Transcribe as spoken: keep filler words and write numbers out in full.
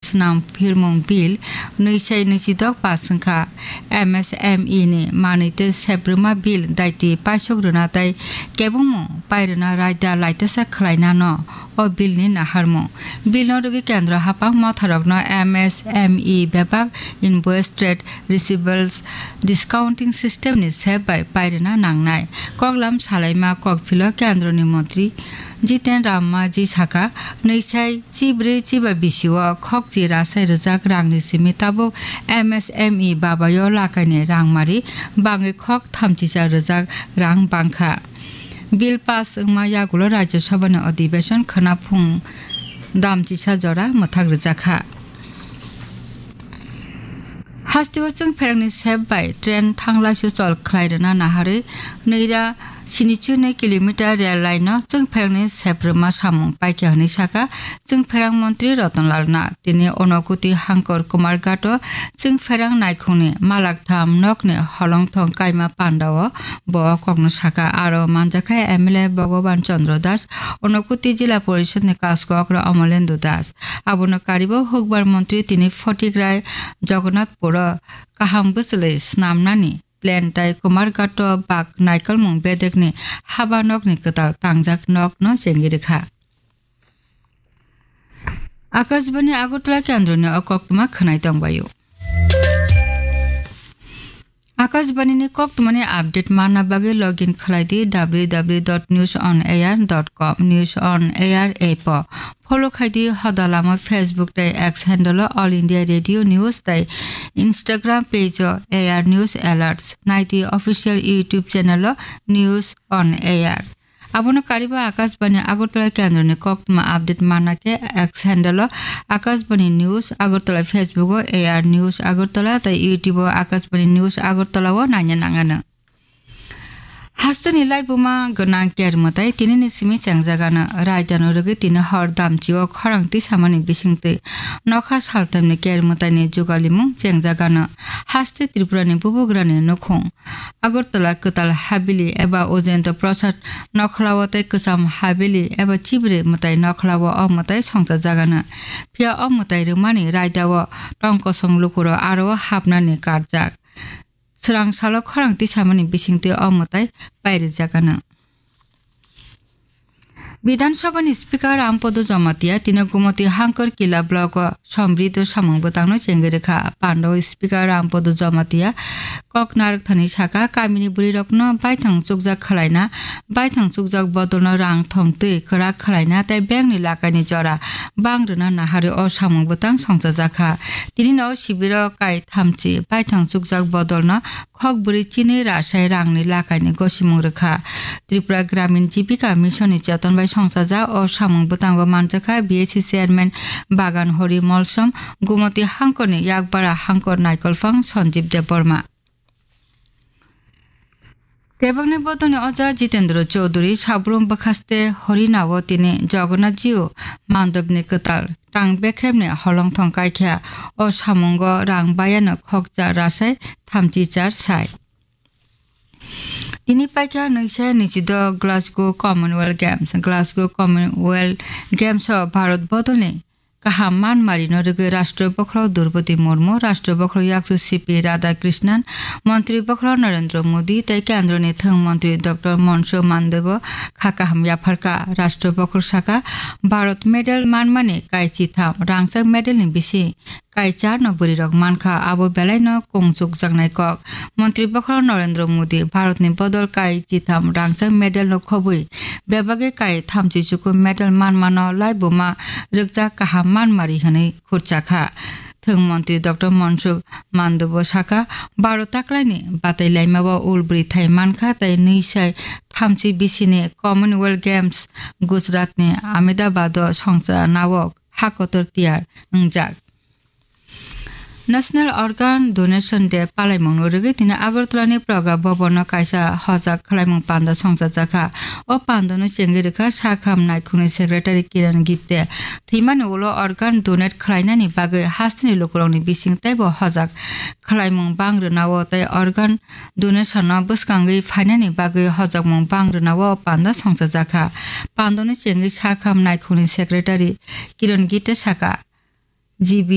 Swnam phirmung bill nwi sai nwi si dok pass wngkha. M S M E ni manwi tei seprwma bill daiti paisok rwna tei kebengmung pai rwna raida laitesa khwlainano o bill ni naharmung. Bill no rwgwi kendro haphang motharokno M S M E bebak invoice trade receivables discounting system ni sep bai pai rwna nangnai. Koklam salaima kokphilo kendro ni montri Jiten Rammaji saka, nwi sai chibrwi chiba bisio khokchi rasai rwjak rangni simi tabuk M S M E babayo lakaini rangmari bangwi khok thamchisa rwjak rang bangkha. Bill pass wngma yagulo Rajya Sabhani Adhibeshon khwna phung damchisa jora mwthak rwjakha. Hasteo chwng pherangni sep bai train thanglai suchol khlai rwna naharwi nwi ra sinichu nwi kilometer rail line no chwng pherangni sep rwma samung paikha hwnwi saka chwng pherang montri Ratan Lal Nath. Tini Unakoti Hangkor Kumarghat o chwng pherang naikhungni malaktham nokni holongthong kaima pandao bo o kokno saka. Aro manjakha M L A Bhagaban Chandra Das, Unakoti Jila Porishod ni Kaskok Amolendu Das. Abono karibo hukbar montri tini Photigrai Jagannathpuro kaham bwchwlwi snamnani plan tai Kumarghato bak naikolmung bedekni haba nokni kwtal tangjak nokno chengwi rwkha. Akashbani Agartala kendroni o koktwma khwnai tongbaio. Akashbani ni koktwmani update manna bagwi login khlai di W W W dot news on air dot com, News on Air app o. Follow khai di hoda lama Facebook tei X handle o All India Radio News tei Instagram page o A R News Alerts. Nai di official YouTube channel o News on Air. Abono kariba Akashbani Agartala kendroni koktwma update manna khe X handle o Akashbani News Agartala, Facebook o A R News Agartala tei YouTube o Akashbani News Agartala o naina nangano. Hasteni laibuma gwnang ker mwtai tinini simi chengjagano. Raidano rwgwi tini hor damchio khorang tisamani bisingtwi nokha saltamni ker mwtaini jugalimung chengjagano. Haste Tripurani bubugrani nukhung Agartala kwtal habili eba Ujendra Prasad nokhlao tei kwcham habili eba chibri mwtai nokhlao o mwtai songchajagano. Phiya o mwtai rwmani raidao tong kosong lukurok aro hapnani karjak. Swrang salo khorang tisamani bisingtwi o mwtai pairijagano. Bidhan Sabhani Speaker Rampodo Jamatia tino Gumoti Hangkor Kila block o sombrido samung bwtangno chengwi rwkha. Pando Speaker Rampodo Jamatia kok narwkthani saka, kamini bwrwirokno baithang chukjak khwlaina, baithang chukjak bodolno rang thongtwi kwrak khwlaina tei bengni lakaini jora bang rwna naharwi o samung bwtang songchajakha. Tinino sibiro kai thamchi baithang chukjak bodolno khok bwrwi chini rasai rangni lakaini gosimung rwkha. Tripura Gramin Jibika Mission ni cheton bai songchajak o samung bwtango manjakha B S C chairman Bagan Hori Molsom, Gumoti Hangkorni yakbara hangkor naikolphang Sanjib Debbarma. Kebengni bodolni oja Jitendra Chaudhary Sabrum bwkhaste Horinao tini Jagannath Jiu mandobni kwtal tang bekremni holongthong kaikha. O samungo rang bayano khokcha rasai thamchi char sai. Tini paikha nwisa nwichido Glasgow Commonwealth Games. Glasgow Commonwealth Games o Bharat bodolni kaham manmarino rwgwi Rashtra Bokhorok Droupadi Murmu, Rashtra Bokhorok Yakchu C P Radhakrishnan, Montri Bokhorok Narendra Modi tei Kendroni Thwng Montri Doctor Mansukh Mandaviya kha kaham yapharkha. Rashtra Bokhorok saka, Bharat medal manmani kai chitham rangchak medalni bisi kai charno bwrwirok mankha, abo belaino kung chukjaknai kok. Montri Bokhorok Narendra Modi Bharatni bodol kai chitham rangchak medalno khobwi bebagwi kai thamchi chuku medal manmano laibuma rwkjak kaham manmari hwnwi khurchakha. Thwng montri Doctor Mansukh Mandaviya saka, Bharat taklaini batai laimao ul bwrwi thai mankha tei nwi sai thamchi bisini Commonwealth Games Gujaratni Ahmedabado songcha nawok ha kotor tiyar wngjak. National Organ Donation Day palaimungno rwgwi tini Agartala ni Praga Bhavan no kaisa hojak khwlaimung panda songchajakha. O panda no chengwi rwkha Sakham Naikhungni Secretary Kiran Gitte. Thwimani ulo organ donate khwlainani bagwi hasteni lukurokni bising teibo hojak khwlaimung bang rwnao tei organ donation no bwskangwi phainani bagwi hojakmung bang rwnao o panda songchajakha. Panda no chengwi Sakham Naikhungni Secretary Kiran Gitte saka, G B